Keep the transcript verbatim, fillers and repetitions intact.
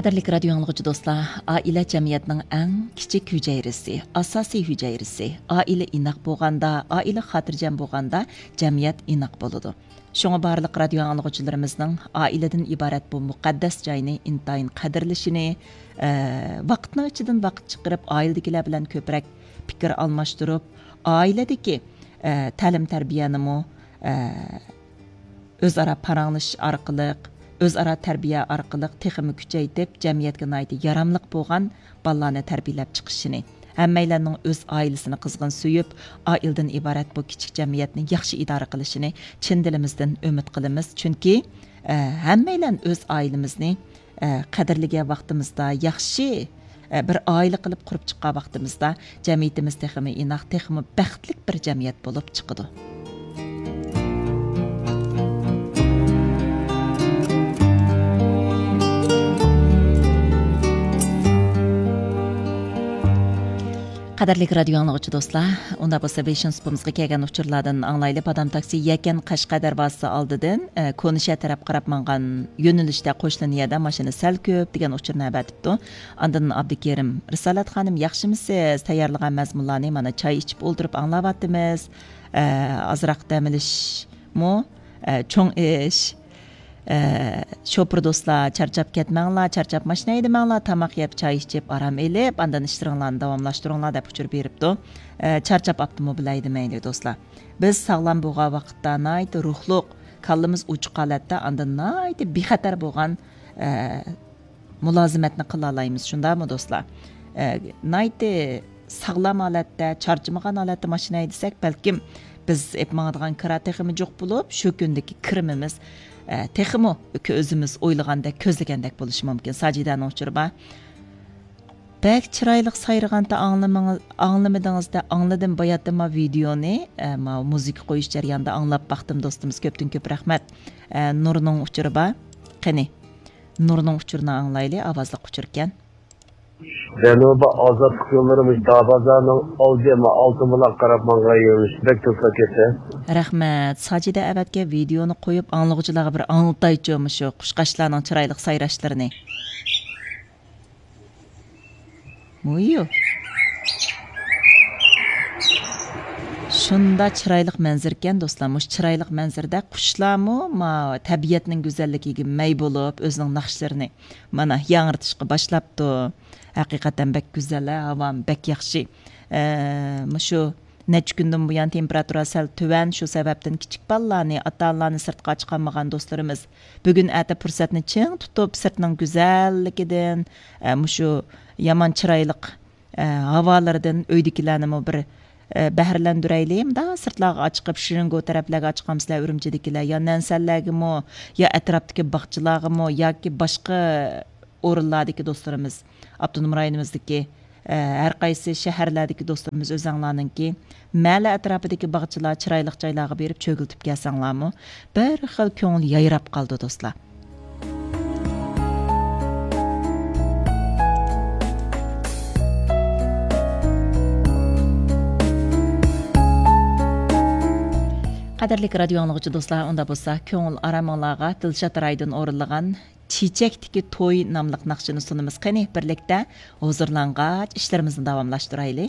قەدىرلىك رادىيو ئاڭلىغۇچى دوستلار، ئائىلە جەمئىيەتنىڭ ئەڭ كىچىك ھۈجەيرىسى، ئاساسىي ھۈجەيرىسى. ئائىلە ئىناق بولغاندا، ئائىلە خاتىرجەم بولغاندا، جەمئىيەت ئىناق بولىدۇ. شۇڭا بارلىق رادىيو ئاڭلىغۇچىلىرىمىزنىڭ ئائىلىدىن ئىبارەت بۇ مۇقەددەس جاينى ئىنتايىن قەدىرلىشىنى، ئە، ۋاقىتنىڭ ئىچىدىن ۋاقىت چىقىرىپ، ئائىلىدىكىلەر بىلەن كۆپرەك پىكىر ئالماشتۇرۇپ، ئائىلىدىكى، ئە، تەلىم تەربىيەنىمۇ، ئە، ئۆزئارا پاراڭلىشىش ئارقىلىق، ئۆزئارا تەربىيە ئارقىلىق تېخىمۇ كۈچەيتىپ، جەمئىيەتكە ناھايىتى ياراملىق بولغان بالىلارنى تەربىيەلەپ چىقىشىنى، ھەممەيلەننىڭ ئۆز ئائىلىسىنى قىزغىن سۆيۈپ، ئائىلىدىن ئىبارەت بۇ كىچىك جەمئىيەتنى ياخشى ئىدارە قىلىشىنى چىن دىلىمىزدىن ئۈمىد قىلىمىز. چۈنكى، ئە، ھەممەيلەن ئۆز ئائىلىمىزنى، ئە، قەدىرلىگەن ۋاقتىمىزدا ياخشى، ئە، بىر ئائىلە قىلىپ قۇرۇپ چىققان ۋاقتىمىزدا، جەمئىيىتىمىز تېخىمۇ ئىناق، تېخىمۇ بەختلىك بىر جەمئىيەت بولۇپ چىقىدۇ. قەدىرلىك رادىيو ئاڭلىغۇچى دوستلار، ئۇندا بولسا بېشىنچى سۇپىمىزغا كەلگەن ئۇچۇرلاردىن ئاڭلايلى. بادام تاكسى يەكەن قەشقەر دەرۋازىسى ئالدىدىن، ئە، كونا شەھەر تەرەپ قاراپ ماڭغان يۆنىلىشتە قوشنا نىيەدە ماشىنا سەل كۆپ دېگەن ئۇچۇرنى ئەۋەتىپتۇ. ئاندىن ئابدۇكېرىم رىسالەت خانىم، ياخشىمۇسىز؟ تەييارلىغان مەزمۇنلارنى مانا چاي ئىچىپ ئولتۇرۇپ ئاڭلاۋاتىمىز. ئە، ئازراق دەم ئېلىشمۇ، ئە، چوڭ ئىش. ئە، شوپۇر دوستلار، چارچاپ كەتمەڭلار، چارچاپ ماشىنا ھەيدىمەڭلار، تاماق يەپ، چاي ئىچىپ، ئارام ئېلىپ، ئاندىن ئىشلىرىڭلارنى داۋاملاشتۇرۇڭلار، دەپ ئۇچۇر بېرىپتۇ. ئە، چارچاپ ئاپتوموبىل ھەيدىمەيلى دوستلار. بىز ساغلام بولغان ۋاقىتتا ناھايىتى روھلۇق، كاللىمىز ئوچۇق ھالەتتە، ئاندىن ناھايىتى بىخەتەر بولغان، ئە، مۇلازىمەتنى قىلالايمىز، شۇنداقمۇ دوستلار؟ ئە، ناھايىتى ساغلام ھالەتتە، چارچىمىغان ھالەتتە ماشىنا ھەيدىسەك، بەلكىم بىز ئېلىپ ماڭىدىغان كىرا تېخىمۇ جۇق بولۇپ، شۇ كۈندىكى كىرىمىمىز، ئە، تېخىمۇ ئۆزىمىز ئويلىغاندەك، كۆزلىگەندەك بولۇشى مۇمكىن. ساجىدەنىڭ ئۇچۇرى بار. بەك چىرايلىق سايرىغانتا ئاڭلىمىڭىز-، ئاڭلىمىدىڭىزدا، ئاڭلىدىم باياتتىن ما ۋىدېئونى، ئە، ما مۇزىكا قويۇش جەريانىدا ئاڭلاپ باقتىم دوستىمىز، كۆپتىن كۆپ رەھمەت. ئە، نۇرنىڭ ئۇچۇرى بار. قېنى، نۇرنىڭ ئۇچۇرىنى ئاڭلايلى، ئاۋازلىق ئۇچۇركەن. جەنۇبىي ئازادلىق يوللىرى مۇشۇ دارۋازانىڭ ئالدى، ما ئالتۇن بۇلاق قاراپ ماڭغان يۆنىلىش بەك توسۇلۇپ كەتتى. رەھمەت. ساجىدە ئەۋەتكەن ۋىدېئونى قويۇپ، ئاڭلىغۇچىلارغا بىر ئاڭلىتايچۇ مۇشۇ قۇشقاچلارنىڭ چىرايلىق سايراشلىرىنى. مۇيۇ. شۇندا چىرايلىق مەنزىرىكەن دوستلار. مۇشۇ چىرايلىق مەنزىرىدە قۇشلارمۇ ما تەبىئەتنىڭ گۈزەللىكىگە مەي بولۇپ، ئۆزىنىڭ ناخشىلىرىنى مانا ياڭرىتىشقا باشلاپتۇ. ھەقىقەتەن بەك گۈزەل، ھاۋام بەك ياخشى. ئە، مۇشۇ نەچچە كۈندىن بۇيان تېمپېراتۇرا سەل تۆۋەن، شۇ سەۋەبتىن كىچىك بالىلارنى، ئاتا-ئانىلارنى سىرتقا چىقارمىغان دوستلىرىمىز بۈگۈن ئەتە پۇرسەتنى چىڭ تۇتۇپ، سىرتنىڭ گۈزەللىكىدىن، ئە، مۇشۇ يامان چىرايلىق، ئە، ھاۋالىرىدىن ئۆيدىكىلەرنىمۇ بىر، ئە، بەھرىلەندۈرەيلى. مۇنداق سىرتلارغا چىقىپ، شىرىنگو تەرەپلەرگە چىقامسىلەر، ئۈرۈمچىدىكىلەر يا نەنسەنلەرگىمۇ، يا ئەتراپتىكى باغچىلارغىمۇ ياكى باشقا ئورۇنلاردىكى دوستلىرىمىز، ئاپتونوم رايونىمىزدىكى، ئە، ھەر قايسى شەھەرلەردىكى دوستلىرىمىز ئۆزەڭلارنىڭكى مەھەللە ئەتراپىدىكى باغچىلار، چىرايلىق جايلارغا بېرىپ چۆگىلىتىپ كەلسەڭلارمۇ، بىر خىل كۆڭۈل يايراپ قالىدۇ، دوستلار. قەدىرلىك رادىيو ئاڭلىغۇچى دوستلار، ئۇندا بولسا كۆڭۈل ئارامىڭلارغا دىلشات رايدىن ئورۇنلىغان چېچەكتىكى توي ناملىق ناخشىنى سۇنىمىز. قېنى، بىرلىكتە ھۇزۇرلانغاچ ئىشلىرىمىزنى داۋاملاشتۇرايلى.